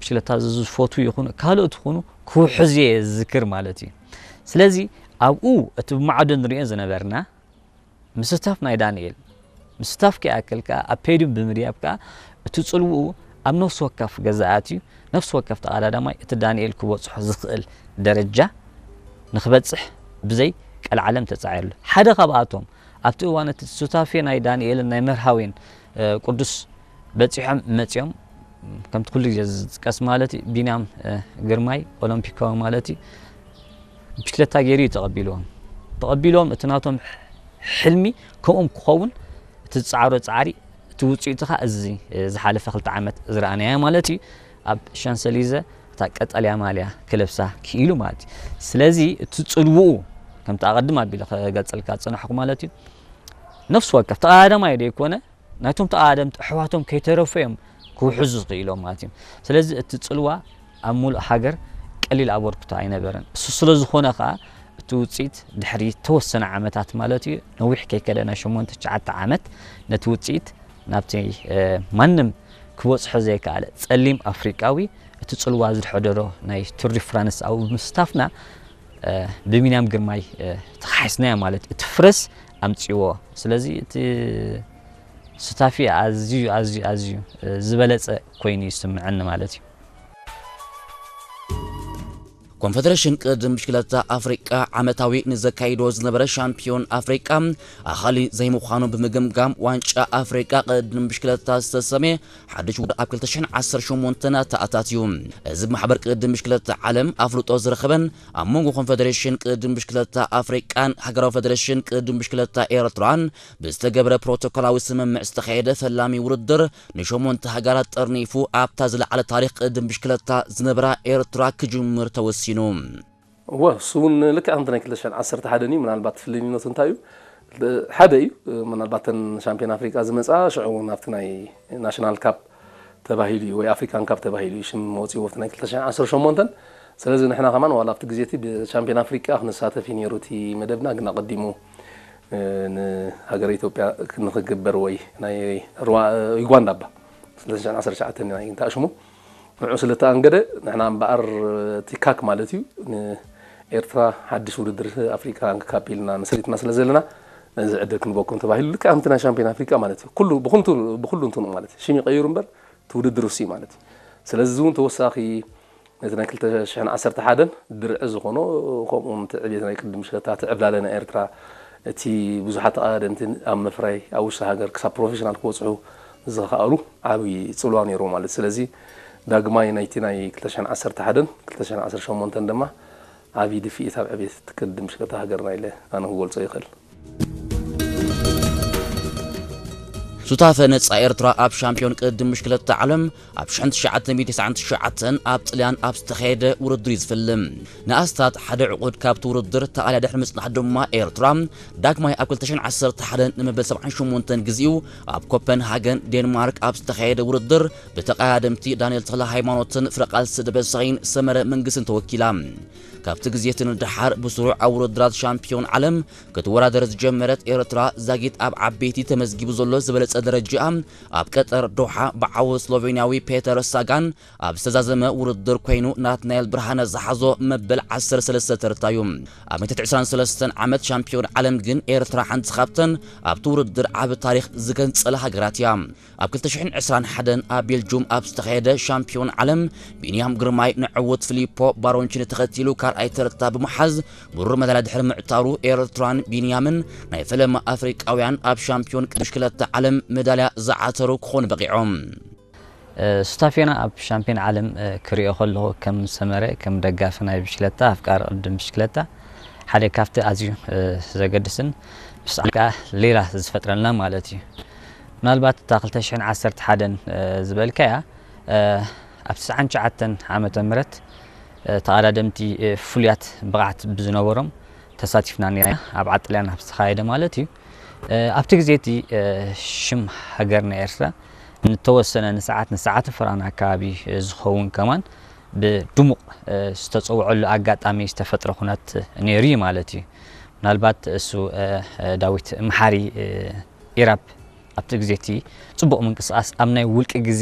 ክለታ ዝፈቱ ይኹኑ ካልኦት ይኹኑ ክውሕዝ እየ ዝዝክር ማለት እዩ። ስለዚ ኣብኡ እቲ ብማዕዶ ንሪኦ ዝነበርና ምስታፍ ናይ ዳንኤል፣ ምስታፍ ከይኣክል ከኣ ኣብ ፔድዩም ብምድያብ ከኣ እቲ ጽልውኡ ኣብ ነፍሲ ወከፍ ገዛኣት እዩ። ነፍሲ ወከፍ ተቐዳዳማይ እቲ ዳንኤል ክበጽሖ ዝኽእል ደረጃ ንኽበጽሕ ብዘይ ቀልዓለም ተጻዒርሉ። ሓደ ካብኣቶም ኣብቲ እዋን እቲ ሱታፌ ናይ ዳንኤልን ናይ መርሃዊን ቅዱስ በጺሖም መጺኦም። ከምቲ ኩሉ ግዜ ዝጥቀስ ማለት እዩ፣ ቢንያም ግርማይ ኦሎምፒካዊ ማለት እዩ፣ ብሽክለታ ገይሩ እዩ ተቐቢልዎም። ተቐቢልዎም እቲ ናቶም ሕልሚ ከምኦም ክኸውን እቲ ዝጻዕሮ ጻዕሪ እቲ ውጽኢቱ ኸኣ እዚ ዝሓለፈ ክልተ ዓመት ዝረኣናዮ ማለት እዩ። ኣብ ሻንሰሊዘ እታ ቀጠልያ ማልያ ክለብሳ ክኢሉ ማለት እዩ። ስለዚ እቲ ጽልውኡ ከምቲ ኣቐድም ኣቢለ ክገልጸልካ ዝጸናሕኩ ማለት እዩ። ነፍሲ ወከፍ ተቐዳዳማይ ደይኮነ ናይቶም ተቐዳደምቲ ኣሕዋቶም ከይተረፉ እዮም ክውሕዙ ዝኽኢሎም ማለት እዩ። ስለዚ እቲ ጽልዋ ኣብ ሙሉእ ሃገር ቀሊል ኣበርክቶ ኣይነበረን። እሱ ስለ ዝኾነ ኸኣ እቲ ውጽኢት ድሕሪ ተወሰነ ዓመታት ማለት እዩ፣ ነዊሕ ከይከደ ናይ ሸሞንተ ትሽዓተ ዓመት ነቲ ውጽኢት ናብቲ ማንም ክበጽሖ ዘይከኣለ ጸሊም ኣፍሪቃዊ እቲ ጽልዋ ዝሕደሮ ናይ ቱር ዲ ፍራንስ ኣብኡ ብምስታፍና ብቢንያም ግርማይ ተኻሒስናዮ ማለት እዩ። እቲ ፍረስ ኣምጺዎ። ስለዚ እቲ ሱታፌ ኣዝዩ ኣዝዩ ኣዝዩ ዝበለጸ ኮይኑ ይስምዐኒ ማለት እዩ። ኮንፈደሬሽን ቅድድም ብሽክለታ ኣፍሪቃ ዓመታዊ ንዘካይዶ ዝነበረ ሻምፒዮን ኣፍሪቃ ኣኻሊ ዘይምዃኑ ብምግምጋም ዋንጫ ኣፍሪቃ ቅድድም ብሽክለታ ዝተሰመየ ሓድሽ ውድድር ኣብ ክልተ ሽሕን ዓሰርተ ሸሞንተን ኣተኣታትዩ። እዚ ብማሕበር ቅድድም ብሽክለታ ዓለም ኣፍልጦ ዝረኸበን ኣብ መንጎ ኮንፈደሬሽን ቅድድም ብሽክለታ ኣፍሪቃን ሃገራዊ ፈደሬሽን ቅድድም ብሽክለታ ኤርትራን ብዝተገብረ ፕሮቶኮላዊ ስምምዕ ዝተኻየደ ፈላሚ ውድድር ንሸሞንተ ሃገራት ጠርኒፉ ኣብታ ዝለዓለ ታሪኽ ቅድድም ብሽክለታ ዝነበራ ኤርትራ ክጅምር ተወሲኑ። እወ እሱ እውን ልክዕ ከምቲ ናይ ክልተ ሽሕን ዓሰርተ ሓደን እዩ። ምናልባት ፍልልይነቱ እንታይ እዩ? ሓደ እዩ። ምናልባት ተን ሻምፒዮን ኣፍሪቃ ዝመፃ ሽዑ እውን ኣብቲ ናይ ናሽናል ካፕ ተባሂሉ እዩ ወይ ኣፍሪካን ካፕ ተባሂሉ እዩ ሽም ወፂዎ ኣብቲ ናይ ክልተ ሽሕን ዓሰርተ ሸሞንተን። ስለዚ ንሕና ከማን ዋላ ኣብቲ ግዜ እቲ ብሻምፒዮን ኣፍሪቃ ክንሳተፍ እዩ ነይሩ እቲ መደብና፣ ግን ኣቐዲሙ ንሃገረ ኢትዮጵያ ንክግበር ወይ ናይ ዩጋንዳ እባ ክልተ ሽሕን ዓሰርተ ትሽዓተን ናይ እንተኣሽሙ ንዑ ስለ ተኣንገደ ንሕና እምበኣር እቲ ካክ ማለት እዩ ንኤርትራ ሓድሽ ውድድር ኣፍሪካ ካፕ ኢልና መስሪትና ስለ ዘለና ነዚ ዕድል ክንበኩም ተባሂሉ ልክዕ ከምቲ ናይ ሻምፒዮን ኣፍሪካ ማለት እዩ ኩሉ ብኩንቱ ብኩሉ እንትኑ ማለት እዩ ሽም ይቀይሩ እምበር እቲ ውድድር ውሲ ማለት እዩ ስለዚ እውን ተወሳኺ ነቲ ናይ ክልተ ሽሕን ዓሰርተ ሓደን ድርዒ ዝኾኖ ከምኡ እውን እቲ ዕብየት ናይ ቅድድም ብሽክለታ እቲ ዕብላለ ናይ ኤርትራ እቲ ብዙሓት ተቐዳደምቲ ኣብ ምፍራይ ኣብ ውሽጢ ሃገር ክሳብ ፕሮፌሽናል ክበፅሑ ዝኸኣሉ ዓብዪ ፅልዋ ነይርዎ ማለት ስለዚ ዳግማይ ናይቲ ናይ ክልተ ሽሕን ዓሰርተ ሓደን ክልተ ሽሕን ዓሰርተ ሸሞንተን ድማ ዓብዪ ድፍኢት ኣብ ዕብየት እቲ ቅድድም ብሽክለታ ሃገርና ኢለ ኣነ ክገልፆ ይኽእል። ሱታፈ ነጻ ኤርትራ ኣብ ሻምፒዮን ቅድድም ብሽክለታ ዓለም ኣብ ሽሕን ትሽዓተ ሚእቲ ተስዓን ትሽዓተን ኣብ ጥልያን ኣብ ዝተኻየደ ውድድር እዩ ዝፍልም። ንኣስታት ሓደ ዕቑድ ካብቲ ውድድር ተኣልያ ድሕሪ ምጽናሕ ድማ ኤርትራ ዳግማይ ኣብ ክልተ ሽሕን ዓሰርተ ሓደን ንመበል ሰብዓን ሸሞንተን ግዜኡ ኣብ ኮፐንሃገን ዴንማርክ ኣብ ዝተኻየደ ውድድር ብተቐዳደምቲ ዳንኤል ተኽለ ሃይማኖትን ፍረቃልሲ ደበሳይን ሰመረ መንግስትን ተወኪላ። ካብቲ ግዜ እቲ ንደሓር ብስሩዕ ኣብ ውድድራት ሻምፒዮን ዓለም ክትወዳደር ዝጀመረት ኤርትራ ዛጊት ኣብ ዓበይቲ ተመዝጊቡ ዘሎ ዝበለጸ ደረጃኣ ኣብ ቀጠር ዶሓ ብዓወት ስሎቬንያዊ ፔተር ሳጋን ኣብ ዝተዛዘመ ውድድር ኮይኑ ናትናኤል ብርሃነ ዝሓዞ መበል ዓሰርተ ሰለስተ ተርታዩ። ኣብ ሚእቲ ዕስራን ሰለስተን ዓመት ሻምፒዮን ዓለም ግን ኤርትራ ሓንቲ ካብተን ኣብቲ ውድድር ዓቢ ታሪኽ ዝገንጸላ ሃገራት እያ። ኣብ ክልተ ሽሕን ዕስራን ሓደን ኣብ ቤልጁም ኣብ ዝተኻየደ ሻምፒዮን ዓለም ቢንያም ግርማይ ንዕውት ፊሊፖ ባሮንቺኒ ተኸቲሉ ካልኣይ ተርታ ብምሓዝ ብሩር መዳልያ ድሕሪ ምዕታሩ ኤርትራን ቢንያምን ናይ ፈለማ ኣፍሪቃውያን ኣብ ሻምፒዮን ቅድድም ብሽክለታ ዓለም መዳልያ ዝዓተሩ ክኾኑ በቒዖም። ሱታፌና ኣብ ሻምፒዮን ዓለም ክሪኦ ከለኹ ከም ሰመረ ከም ደጋፊ ናይ ብሽክለታ ኣፍቃሪ ቅድድም ብሽክለታ ሓደ ካብቲ ኣዝዩ ዘገድስን ብስዓት ከዓ ሌላ ዝፈጥረልና ማለት እዩ። ምናልባት እታ ክልተ ሽሕን ዓሰርተ ሓደን ዝበልካያ ኣብ ትስዓን ትሽዓተን ዓመተ ምህረት ተቐዳደምቲ ፍሉያት ብቕዓት ብዝነበሮም ተሳቲፍና ኔርና ኣብ ዓጥልያን ኣብ ዝተኻየደ ማለት እዩ። ኣብቲ ግዜ እቲ ሽም ሃገርና ኤርትራ ንተወሰነ ንሰዓት ንሰዓት ፍራን ኣካባቢ ዝኸውን ከማን ብድሙቕ ዝተፀውዐሉ ኣጋጣሚ ዝተፈጥረ ኩነት ነይሩ እዩ ማለት እዩ። ምናልባት እሱ ዳዊት መሓሪ ኢራብ ኣብቲ ግዜ እቲ ፅቡቕ ምንቅስቃስ ኣብ ናይ ውልቂ ግዜ